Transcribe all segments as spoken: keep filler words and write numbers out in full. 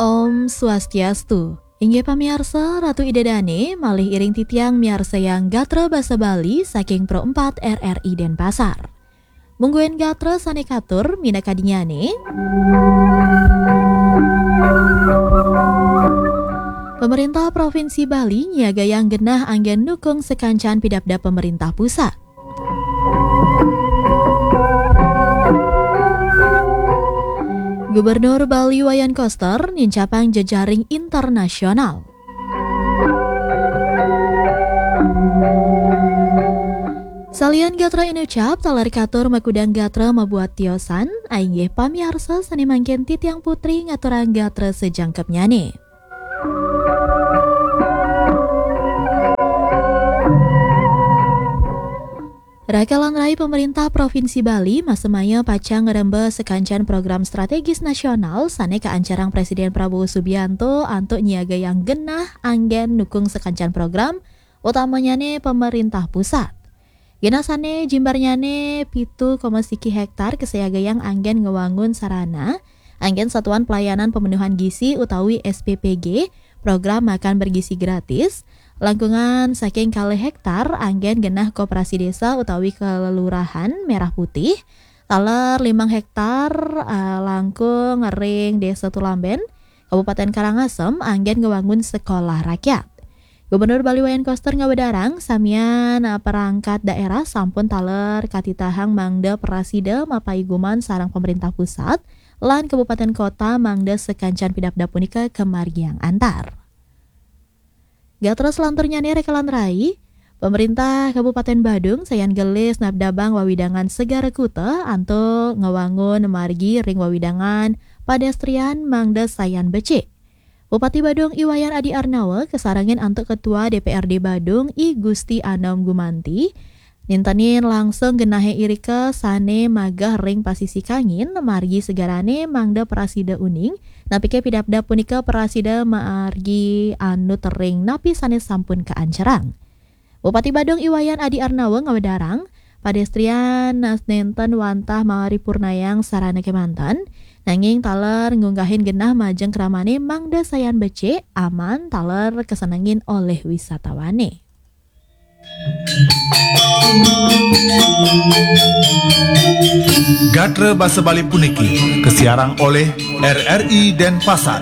Om Swastiastu. Inggih pamiarsa, Ratu Ida Dane malih iring titiang miarsayang gatra basa Bali saking Pro empat R R I Denpasar. Mungguing gatra sane katur minakadinnyane. Pemerintah Provinsi Bali nyiagayang genah anggen nukung sakancan pidabdab pemerintah pusat. Gubernur Bali Wayan Koster nincapang jejaring internasional. Salian gatra inucap, taler katur makudang gatra mabuat tiosan, ainggih pamiarsa sane mangkin titiang putri ngaturang gatra sajangkepnyane. Raka lan rai pemerintah Provinsi Bali masemaya pacang ngremba sakancan program strategis nasional sane kaancarang Presiden Prabowo Subianto antuk nyiagayang genah anggen nukung sakancan program, utamanyane pemerintah pusat. Genah sane jimbarnyane pitu koma siki hektar kasiagayang anggen ngwangun sarana, anggen Satuan Pelayanan Pemenuhan Gizi utawi S P P G, program makan bergizi gratis, langkungan saking kalih hektar anggen genah koperasi desa utawi kelurahan Merah Putih, taler limang hektar, eh, langkung ring Desa Tulamben, Kabupaten Karangasem, anggen ngewangun sekolah rakyat. Gubernur Bali Wayan Koster ngawedarang, samian, eh, perangkat daerah sampun taler katitahang mangda prasida mapaiguman sareng pemerintah pusat lan kabupaten kota mangda sakancan pidabdab punika kamargiang antar. Gatra selanturnyane raka lan rai, pemerintah Kabupaten Badung sayan gelis nabdabang wawidangan Segara Kuta antuk ngewangun margi ring wawidangan padestrian mangda sayan becik. Bupati Badung I Wayan Adi Arnawa kasarengin antuk Ketua D P R D Badung I Gusti Anom Gumanti, nintenin langsung genahe irika sane mageh ring pasisi kangin margi segarane mangda prasida uning, napike pidabdab punika prasida margi anut ring napi sane sampun kaancerang. Bupati Badung I Wayan Adi Arnawa ngawedarang, padestrian nenten wantah maripurnayang sarana kemanten, nanging taler ngunggahang genah majeng kramane mangda sayan becik, aman, taler kasenengin olih wisatawane. Gatra basa Bali puniki kasiarang oleh R R I Denpasar.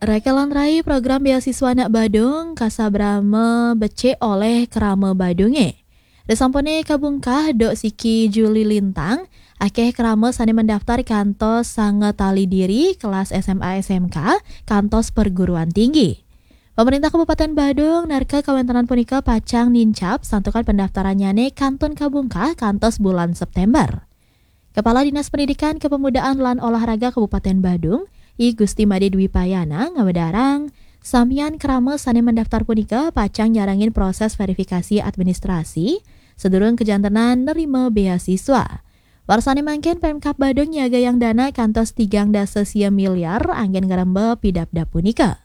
Raka lan rai, program beasiswa anak Badung kasabrama becik olih krama Badunge. Risampune kabungkah duk siki Juli lintang, akeh krama sane mendaftar kantos sanga tali diri, kelas S M A, S M K, kantos perguruan tinggi. Pemerintah Kabupaten Badung nerka kawentenan punika pacang nincap santukan pendaftarannyane kantun kabungkah kantos bulan September. Kepala Dinas Pendidikan, Kepemudaan, lan Olahraga Kabupaten Badung, I Gusti Made Dwi Payana, ngawedarang, samian krama sane mendaftar punika pacang nyarengin proses verifikasi administrasi sadurung kajantenan nerima beasiswa. Warsane mangkin Pemkab Badung nyiagayang dana kantos tigang dasa sia miliar anggen ngremba pidabdab punika.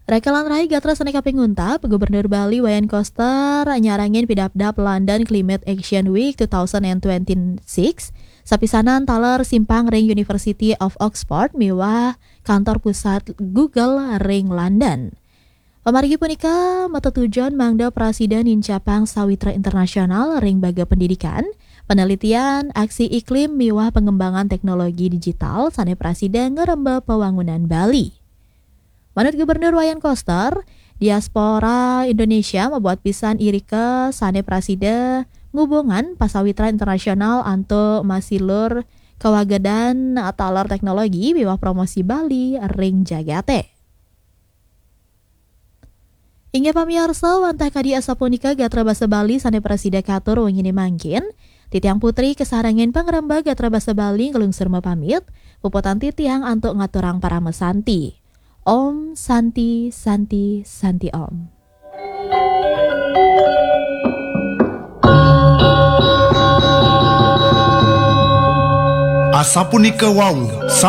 Raka lan rai, gatra sane kaping untat, Gubernur Bali Wayan Koster nyarengin pidabdab London Climate Action Week two thousand twenty-six, sapisanan taler simpang ring University of Oxford miwah kantor pusat Google ring London. Pamargi punika matetujon mangda prasida nincapang sawitra internasional ring baga pendidikan, penelitian, aksi iklim miwah pengembangan teknologi digital sane prasida ngremba pawangunan Bali. Manut Gubernur Wayan Koster, diaspora Indonesia mabuat pisan irika sane prasida ngubungan pasawitra internasional antuk masilur kawagedan taler teknologi miwah promosi Bali ring jagate. Inggih pamiarsa, wantah kadi asapunika gatra basa Bali sane prasida katur wengine mangkin. Titiang putri kasarengin pangremba gatra basa Bali nglungsur mapamit, puputang titiang antuk ngaturang parama santi. Om Santi, Santi, Santi Om. Asapunika wau